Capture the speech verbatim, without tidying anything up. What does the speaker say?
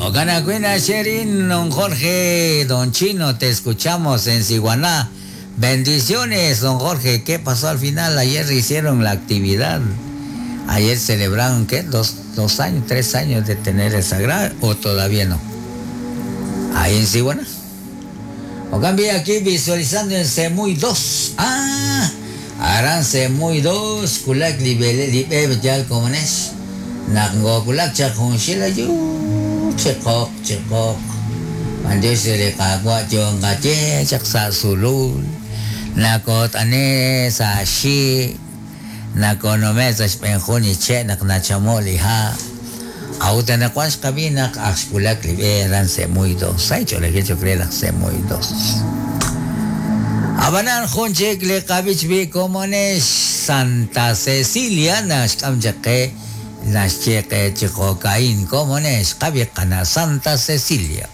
Okan Acuina Sherin, don Jorge, don Chino, te escuchamos en Siguaná. Bendiciones, don Jorge. ¿Qué pasó al final? Ayer hicieron la actividad. Ayer celebraron, ¿qué? Dos, dos años, tres años de tener el sagrado, o todavía no. Ahí en Siguaná. O cambia aquí visualizando en Semuy dos. Ah, Aran Semuy dos, Kulak libele libe yal comunes. Nakgo kulak chakun shila yu chikok chikok. Mandios le kagwa yung kache chak sa sulul. Nakot ane sa shi. Nakonome sa shpenjuni che nak nachamoli ha. Auta na kwan xkabinak axkulak libe aran Semuy dos. Ay chole que yo creo Semuy dos. Abanan junchik le kabich bi comones Santa Cecilia naxkam chake naxcheque chicocaín comones kabi kana Santa Cecilia.